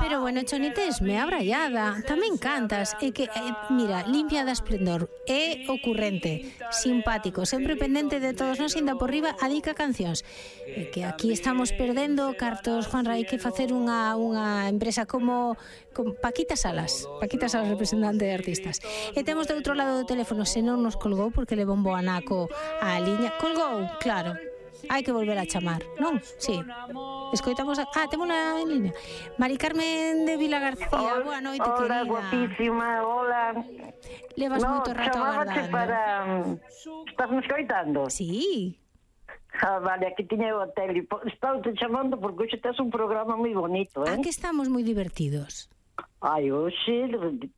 Pero bueno, Chonites, me abrallada. Tamén cantas. É que, mira, limpia de esplendor. É ocurrente, simpático, sempre pendente de todos nos, inda por riba, adica cancións. É que aquí estamos perdendo cartos, Juanra, hai que facer unha empresa como Paquita Salas, representante de artistas. E temos de outro lado do teléfono, se non nos colgou porque levou un bo anaco á liña. Colgou, claro. Hai que volver a chamar, non? Sí. Escoitamos temos en línea. Mari Carmen de Vila García, boa noite, querida. Hola, guapísima, hola. Levas moito rato agardando. para... Estás me escoitando? Sí. Vale, aquí tiña o hotel. Estaba te chamando porque hoxe tes un programa moi bonito, Que estamos moi divertidos. Ai, hoxe,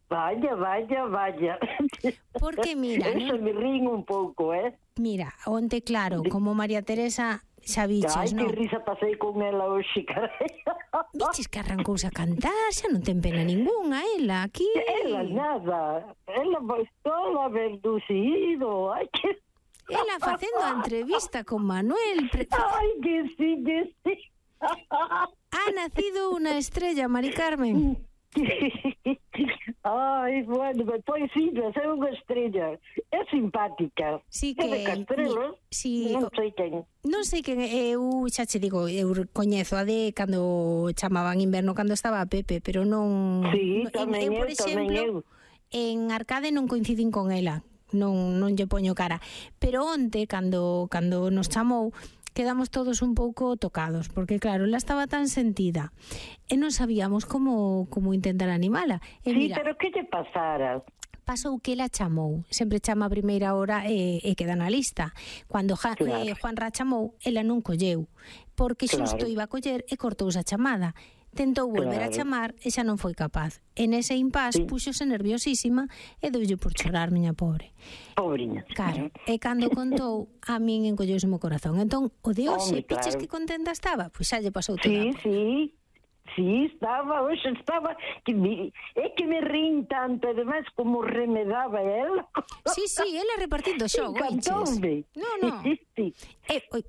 vaya. Porque mira, eso me rín un pouco, Mira, onte claro, como María Teresa xa viches, Ai, non? que risa pasei con ela hoxe, carai. Viches que arrancouse a cantar, xa non ten pena ningunha, ela, aquí. Ela nada, ela toda verducido, ai, que... Ela facendo a entrevista con Manuel. Ai, que sí. Ha nacido unha estrella, Mari Carmen. Ai, bueno, pois sí, é unha estrella. É simpática. Sí que... É de Castrelos, non sei quen. Non sei quen, eu xa che digo, eu coñezo a de cando chamaban Inverno, cando estaba a Pepe, pero non... Sí, tamén por exemplo, en Arcade non coincidín con ela, non lle poño cara. Pero onte, cando nos chamou, quedamos todos un pouco tocados, porque claro, ela estaba tan sentida e non sabíamos como intentar animala. E sí, mira, pero que lle pasara? Pasou que ela chamou, sempre chama a primeira hora e queda na lista. Cando Juanra chamou, ela non colleu, porque xusto iba a coller e cortouse a chamada. Tentou volver a chamar e xa non foi capaz. En ese impás puxose nerviosísima e deulle por chorar, miña pobre. Pobriña. Claro, e cando contou, a min encolleuse o corazón. Entón, o de hoxe, piches que contenta estaba? Pois xa lle pasou toda a porra. Sí, estaba, é que me rin tanto, ademais como remedaba ela. Sí, ela repartindo xogo, encantoume. No. Sí.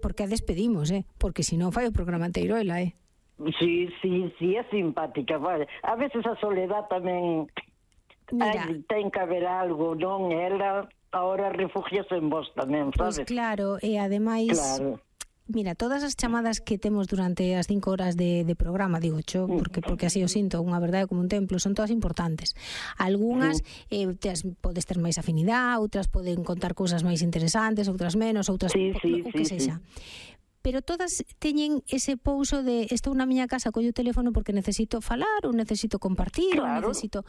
Porque a despedimos, porque se non fai o programa inteiro ela, Sí, é simpática. Vale. A veces a soledad tamén ten que haber algo, non? Ela ahora refugiase en vos tamén, sabes? Pois claro, e ademais... Claro. Mira, todas as chamadas que temos durante as 5 horas de programa, digo cho, porque así o sinto, unha verdade como un templo, son todas importantes. Algúnas podes ter máis afinidade, outras poden contar cousas máis interesantes, outras menos, outras o que sexa. Pero todas teñen ese pouso de estou na miña casa, collo o teléfono porque necesito falar ou necesito compartir, ou necesito...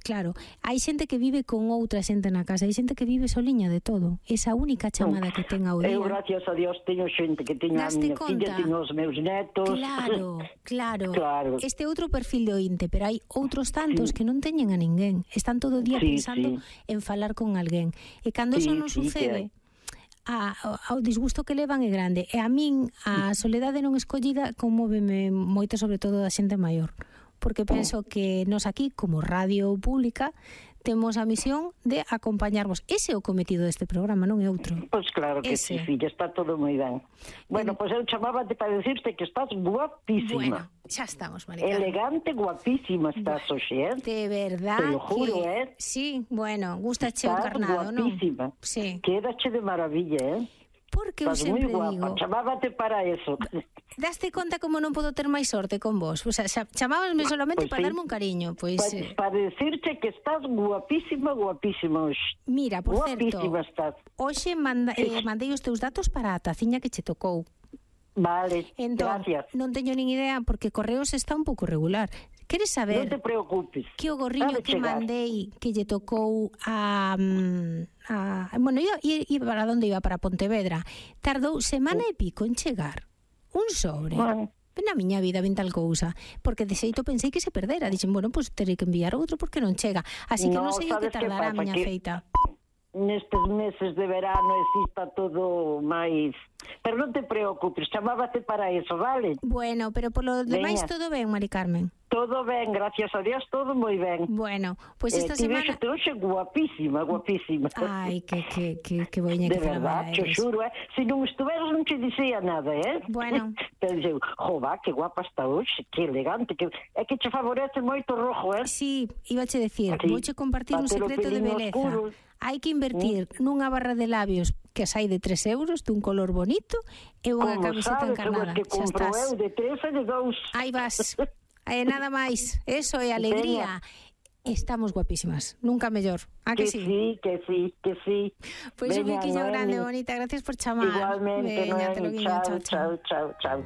Claro, hai xente que vive con outra xente na casa, hai xente que vive soliña de todo. Esa única chamada que ten ao día. Eu, gracias a Dios, teño xente que teño a miña filla, teño os meus netos. Claro. Este outro perfil de ointe, pero hai outros tantos que non teñen a ninguén. Están todo o día pensando en falar con alguén. E cando eso non sucede... ao disgusto que levan é grande, e a min a soledade non escollida conmóveme moito, sobre todo da xente maior, porque penso que nos aquí, como radio pública, temos a misión de acompañarvos. Ese é o cometido deste programa, non é outro. Pois claro que sí, filla, está todo moi ben. Bueno, pois eu chamábate para decirte que estás guapísima. Bueno, xa estamos, Maricarmen. Elegante, guapísima estás hoxe, De verdad. Te lo juro, Sí, bueno, gustache o carnado, non? Estás guapísima. Sí. Quédache de maravilla, Porque eu sempre digo... Chamábate para eso. Daste conta como non podo ter máis sorte con vos? O sea, chamábasme solamente para darme un cariño. Para decirte que estás guapísima hoxe. Mira, por certo, estás. Hoxe mandei os teus datos para a taciña que che tocou. Vale, entón, gracias. Non teño nin idea porque Correos está un pouco regular. Queres saber? Non te preocupes. Que o gorriño que mandei que lle tocou a bueno, iba para onde iba, para Pontevedra. Tardou semana e pico en chegar. Un sobre. Na miña vida ven tal cousa, porque de xeito pensei que se perdera. Dixen, bueno, pois terei que enviar outro porque non chega. Así que non sei o que tardará a miña feita. Nestes meses de verano exista todo máis... Pero non te preocupes, chamábate para eso, vale? Bueno, pero polo demais todo ben, Mari Carmen. Todo ben, gracias a Dios, todo moi ben. Bueno, pois esta semana... Tiveste hoxe guapísima, guapísima. Ai, que boiña que de verdad, te xuro, se non estuveras non te dicía nada, Bueno. Pero dixeu, jova, que guapa está hoxe, que elegante, é que che favorece moito rojo, Sí, íbache decir, vouche compartir un secreto de beleza. Hai que invertir nunha barra de labios que sai de 3 euros, dun color bonito, e unha camiseta encarnada. Que compro eu de 3 e de 2. Aí vas. Nada máis, eso é alegría. Estamos guapísimas, nunca mellor. Que sí? Que sí. Pois un biquiño grande, bonita, gracias por chamar. Igualmente, Noemi, chao.